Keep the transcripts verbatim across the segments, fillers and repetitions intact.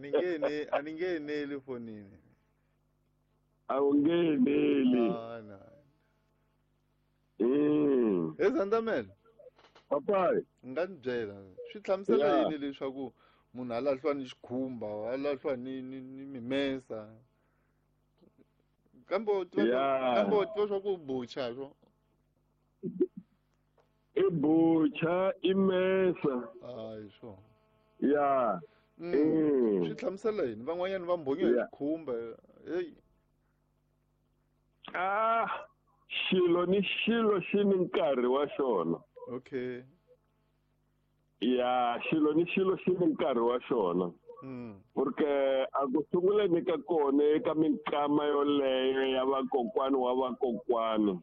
ni nge ne a ni nge neli fonini. A wu nge neli. Ah, na. Mm. He Zandamela. Papai. Nga ni byela swi hlamusela Yeah. yini leswaku munhu a lahliwa ni xikhumba, a lahliwa ni ni ni mimesa. Kambe u tiva Yeah. kambe u tiva swa ku bucha swo. I bucha i mesa. Hayi swo. Ya. Mm. Mm. Swi hlamusela yini? Van'wanyana va mbhonyiwa hi Yeah. xikhumba. Hey. Ah, xilo ni xilo xi ni nkarhi wa xona. Okay. Ya, xilo ni xilo xi ni nkarhi wa xona. Mm. Porque a ku sunguleni ka kona eka minkama yoleyo ya vakokwani wa vakokwani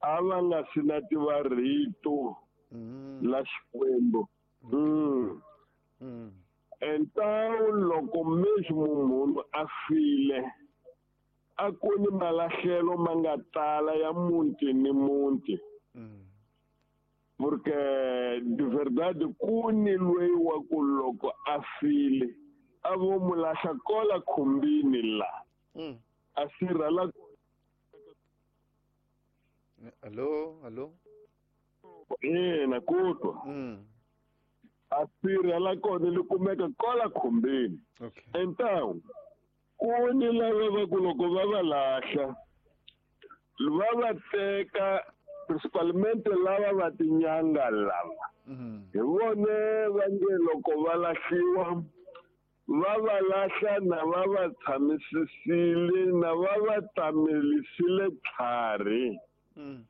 a va nga swi na tiva rito Mm. la Xikwembu. Mm. Mm. Entawu loko mesmo munhu a file a ku ni malahlelo ma nga tala ya muti ni muti. Mm. Porque de verdade ku ni loyi wa ku loko a file a vo mu lahla kola khumbini la. Mm. A sirha la. Allo, allo. Ina ku twa. Mm. A sirha la kona li kumeka kola khumbini. Okay. Então ku ni lava va ku loko va va lahla va va teka principalmente lava va tinyanga lava. Mm. Hi vone va nge loko va lahliwa va va lahla na va va tshamisisile na va va tamelisile tlhari. Mm.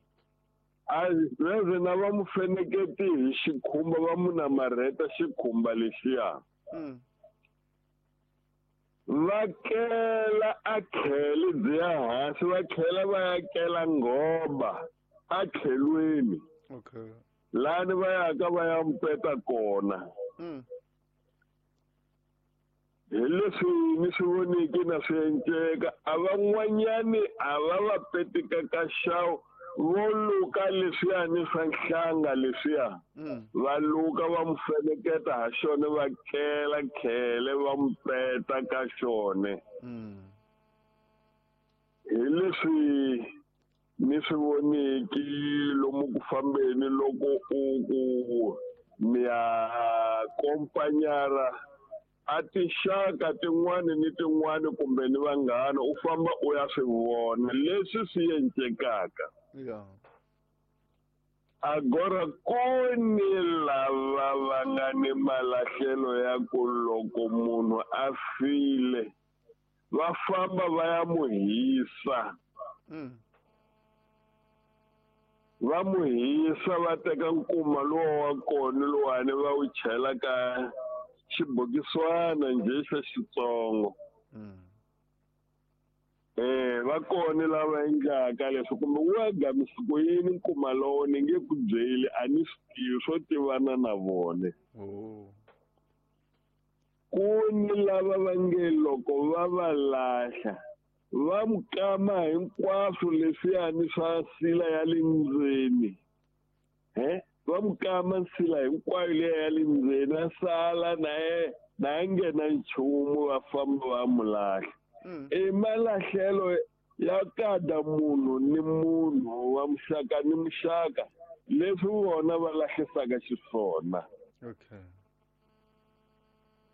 A veze na va mu feneketi hi xikhumba va mu namarheta xikhumba lexiya. Mm. Va kela a khele byi ya hansi va tlhela va ya kela nghoba a tlhelweni. Okay. Lani va yaka va ya mpeta kona. Mm. Hi leswi ni swi voniki na swi enceka a van'wanyani a va va petika ka xawu vo luka leswiyani swa nhlanga leswiya. Mm. Va luka va mu feneketa ha xona va kela khele va mu peta ka xona. Mm. Hi leswi ni swi voniki lomu ku fambeni loko u ku mi ya kompanyara a tinxaka tin'wani ni tin'wani kumbe ni vanghana u famba u ya swi vona leswi swi encekaka. Yeah. Agora ku ni lava va nga ni malahlelo ya ku loko munhu a file va famba va ya mu hisa. Mm. Va mu hisa va teka nkuma lowa wa kona lowani va wu chela ka xibokiswana njhe xa xitsongo. Mm. Eh va kona lava endlaka leswi kumbe wa gamisa ku yini nkuma lowo ni nge ku byeli a ni swi tivi swo tivana na vona. Oh. Ku ni lava va nge loko va va lahla va mu kama hinkwaswo leswiyani swa sila ya le ndzeni. He? Va mu kama nsila hinkwayo liya ya le ndzeni a sala na ye na nghena nchumu va famba va mu lahla. Mm. I malahlelo ya kada munhu ni munhu wa muxaka ni muxaka leswi vona va lahlisaka xiswona. Okay.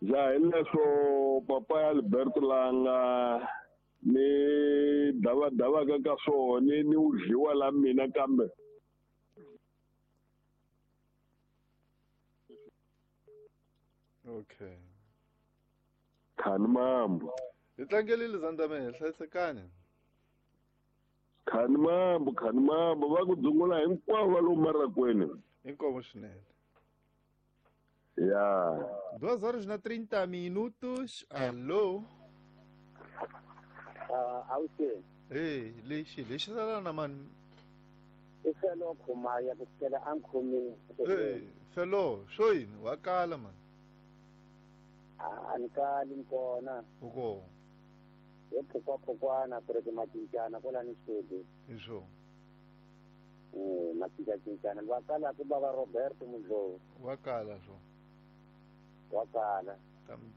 Ja hi leswo papa ya Alberto langa ni davadavaka ka swona ni wu dliwa la mina kambe. Okay. Khani mambo. Hi tlangelile Zandamela, hlayisekani. Khani mambo, khani mambo va ku dzungula hinkwavo va lomu marakweni. Inkomo swinene. Ya. Duas horas na trinta minutos. Alô. Ah, awuxeni. Hey, lexi lexi sala na mani. I felo khumaya ku sukela a nkhomini. Hey, felo, swo yini wa kala mani. A ni kali ni kona. U kona. Hi phukwaphukwani ku ri ki macincana kwalani xitedi. Hi swona. Eh, macincacincana va kala ku bava Roberto Mudlovu. Wa kala swo. Wa kala. Ta mi